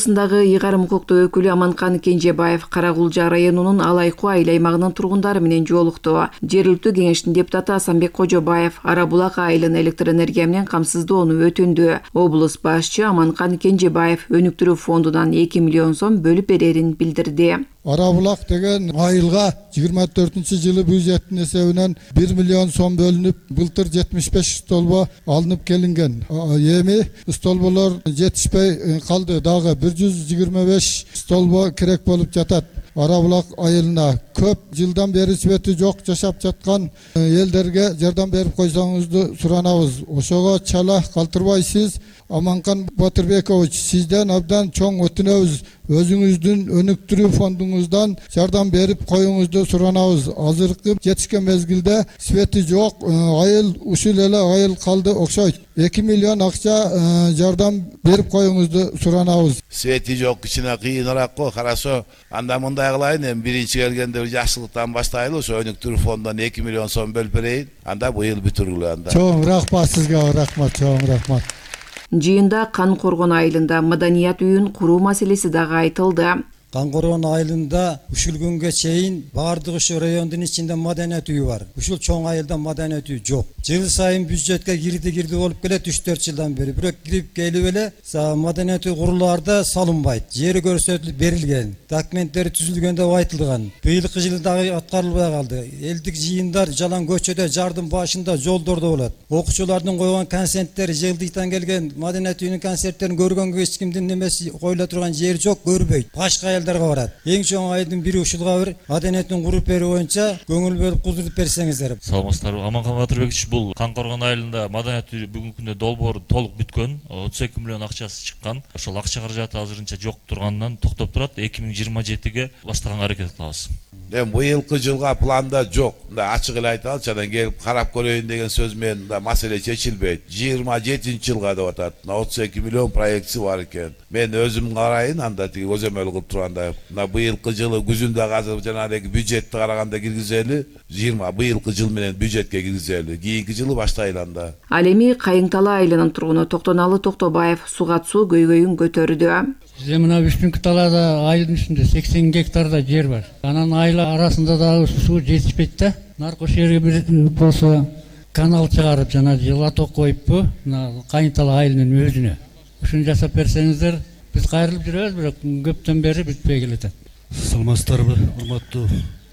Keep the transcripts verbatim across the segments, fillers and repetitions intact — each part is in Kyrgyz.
облусундагы ыйгарым укуктуу өкүлү Аманкан Кенжебаев Кара-Кулжа районунун Алайкуу айыл аймагынын тургундары менен жолукту. Жергиликтүү кеңештин депутаты Асанбек Кожобаев Ара-Булак айылын электр энергия менен камсыздоону өтүндү. Облус башчы Аманкан Кенжебаев өнүктүрүү фондунан эки миллион сом бөлүп берерин билдирди. Ара-Булак деген айылга жыйырма төртүнчү жылы бюджеттин эсебинен бир миллион сом бөлүнүп, былтыр жетимиш беш столбо алынып келинген. Эми столболор жетишпей калды, дагы бир жүз жыйырма беш столбо керек болуп жатат. Ара-Булак айылына көп жылдан бери свети жок жашап жаткан элдерге жардам берип койсоңузду суранабыз. Ошого чала калтырбайсыз. Аманкан Батырбекович, сизден абдан чоң өтүнөбүз. Өзүңүздүн өнүктүрүү фондуңуздан жардам берип коюңузду суранабыз. Азыркы жетишкен мезгилде свети жок айыл ушул эле айыл калды окшойт. эки миллион акча жардам берип коюңузду суранабыз. Свети жок, кичине кыйыныраак го. Хорошо, анда мындай кылайын, эми биринчи келгенде жакшылыктан баштайлы, ошо өнүктүрүү фондунан эки миллион сом бөлүп берейин. Анда быйыл бүтүргүлө анда. Чоң рахмат сизге, рахмат, чоң рахмат. Жыйында Кан Коргон айылында маданият үйүн куруу маселеси дагы айтылды. Кан Коргон айылында ушул күнгө чейин баардык ушу райондун ичинде маданият үйү бар. Ушул чоң айылда маданият үйү жок. Жыл сайын бюджетке кирди кирди болуп келет үч төрт жылдан бери. Бирок кирип келип эле маданият үй курулаарда салынбайт. Жери көрсөтүлүп берилген, документтери түзүлгөн деп айтылган. Быйылкы жылы дагы аткарылбай калды. Элдик жыйындар жалаң көчөдө, жардын башында, жолдордо болот. Окуучулардын койгон концерттери, жылдыктан келген маданият үйүнүн концерттерин көргөнгө эч кимдин немеси коюла турган жери жок, көрбөйт. Башка барат. Эң чоң айылдын бири ушулга бир маданияттын куруп берүү боюнча көңүл бөлүп кудуртуп берсеңиздер. Саламатсыздарбы. Аманкан Батырбекович, бул Кан Коргон айылында маданият үйү бүгүнкү күндө долбоор толук бүткөн. отуз эки миллион акчасы чыккан. Ошол акча каражаты азырынча жок тургандан токтоп турат. эки миң жыйырма жетиге баштаганга аракет кылабыз. Эми быйылкы жылга планда жок. Мындай ачык эле айталычы, анан келип карап көрөйүн деген сөз менен да маселе чечилбейт. жыйырма жетинчи жылга деп атат. отуз эки миллион проектси бар экен. Мен өзүм карайын, анда тиги көзөмөл кылып турганда мына быйылкы жылы күзүндө азыр жанагы бюджетти караганда киргизели, жыйырма быйылкы жыл менен бюджетке киргизели. Кийинки жылы баштайлы анда. Ал эми Кайыңтала айылынын тургуну Токтоналы Токтобаев сугат суу көйгөйүн көтөрдү. Бизде мына Бүшүнкү талаада айылдын үстүндө сексен гектарда жер бар. Анан айыл арасында дагы суу жетишпейт да. Наркош жерге бир болсо канал чыгарып жана жылаток коюппу, мына Кайыңтала айылынын өзүнө. Ушуну жасап берсеңиздер, биз кайрылып жүрөбүз, бирок көптөн бери бүтпөй келатат. Саламатсыздарбы, урматтуу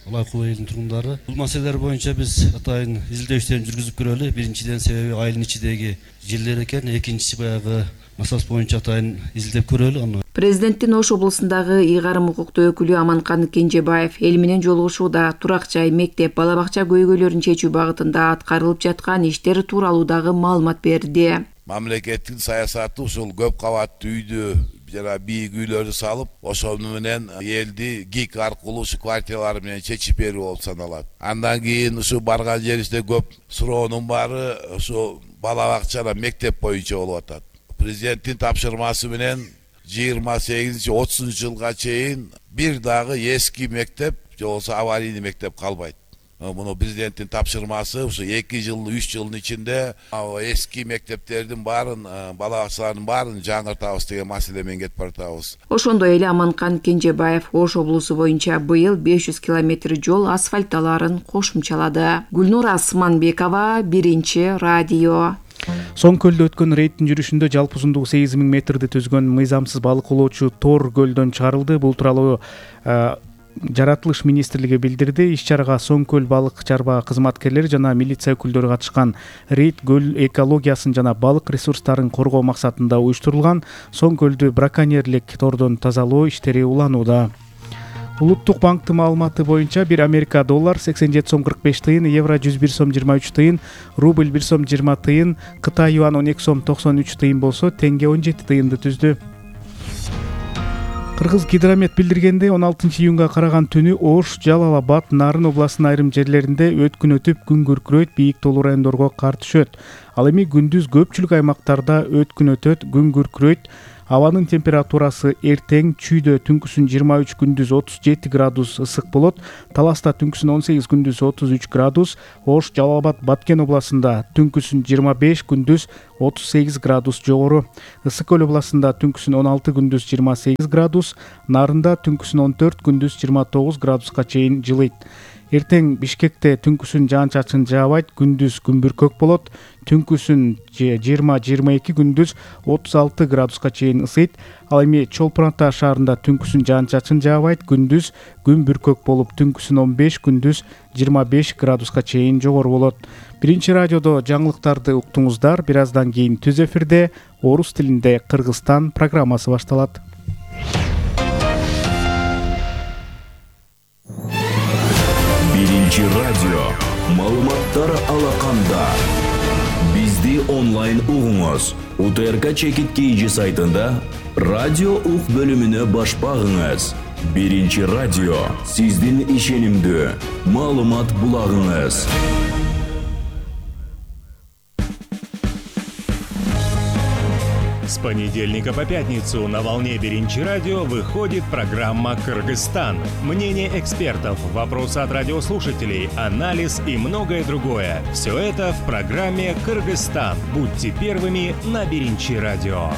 Алайкуу айылынын тургундары. Бул маселелер боюнча биз атайын изилдөө иштерин жүргүзүп көрөлү. Биринчиден себеби айылдын ичидеги жерлер экен, экинчиси баягы масаласы боюнча атайын изилдеп көрөлү аны. Президенттин Ош облусундагы ыйгарым укуктуу өкүлү Аманкан Кенжебаев эл менен жолугушууда турак жай, мектеп, бала бакча көйгөйлөрүн чечүү багытында аткарылып жаткан иштер тууралуу дагы маалымат берди. Мамлекеттин саясаты ушул көп кабаттуу үйдү жана бийик үйлөрдү салып, ошол менен элди ГИК аркылуу ушу квартиралар менен чечип берүү болуп саналат. Андан кийин ушу барган жерибизде көп суроонун баары ушу бала бакча, мектеп боюнча болуп атат. Президенттин тапшырмасы менен жыйырма сегизинчи отузунчу жылга чейин бир дагы эски мектеп же болбосо аварийный мектеп калбайт. Муну президенттин тапшырмасы ушу эки жыл, үч жылдын ичинде эски мектептердин баарын, бала бакчалардын баарын жаңыртабыз деген маселе менен кетип баратабыз. Ошондой эле Аманкан Кенжебаев Ош облусу боюнча быйыл беш жүз километр жол асфальтталаарын кошумчалады. Гүлнур Асманбекова, Биринчи радио. Соң көлдө өткөн рейдтин жүрүшүндө жалпы узундугу сегиз миң метрди түзгөн мыйзамсыз балык оолоочу Тор көлдөн чыгарылды. Бул тууралуу Жаратылыш министрлиги билдирди. Иш-чарага Соң көл балык чарба кызматкерлери жана милиция өкүлдөрү катышкан. Рейд көл экологиясын жана балык ресурстарын коргоо максатында уюштурулган. Соң көлдү браконьерлик тордон тазалоо иштери уланууда. Улуттук банктын маалыматы боюнча бир Америка доллар сексен жети сом кырк беш тыйын, евро жүз бир сом жыйырма үч тыйын, рубль бир сом жыйырма тыйын, Кытай юан он эки сом токсон үч тыйын болсо, теңге он жети тыйынды түздү. Кыргыз гидромет билдиргендей, он алтынчы июнга караган түнү Ош, Жалал Абад, Нарын областынын айрым жерлеринде өткүн өтүп, күн күркүрөйт, бийик тоолуу райондорго кар түшөт. Ал эми күндүз көпчүлүк аймактарда өткүн өтөт, күн күркүрөйт. Абанын температурасы эртең Чүйдө түнкүсүн жыйырма үч, күндүз отуз жети градус ысык болот. Таласта түнкүсүн он сегиз, күндүз отуз үч градус. Ош, Жалал абад, Баткен областында түнкүсүн жыйырма беш, күндүз отуз сегиз градус жогору. Ысык көл областында түнкүсүн он алты, күндүз жыйырма сегиз градус. Нарында түнкүсүн он төрт, күндүз жыйырма тогуз градуска чейин жылыйт. Эртең Бишкекте түнкүсүн жаан-чачын жаабайт, күндүз күн бүркөк болот. Түнкүсүн жыйырма жыйырма эки, күндүз отуз алты градуска чейин ысыйт. Ал эми Чолпон Ата шаарында түнкүсүн жаан-чачын жаабайт, күндүз күн бүркөк болуп, түнкүсүн он беш, күндүз жыйырма беш градуска чейин жогору болот. Биринчи радиодо жаңылыктарды уктуңуздар. Бир аздан кийин түз эфирде орус тилинде Кыргызстан программасы башталат. Биринчи радио маалыматтар алаканда. Бизди онлайн угуңуз. УТРК чекит кейжи сайтында радио ук бөлүмүнө баш багыңыз. Биринчи радио сиздин ишенимдүү маалымат булагыңыз. С понедельника по пятницу на волне Биринчи радио выходит программа «Кыргызстан». Мнение экспертов, вопросы от радиослушателей, анализ и многое другое. Все это в программе «Кыргызстан». Будьте первыми на Биринчи радио.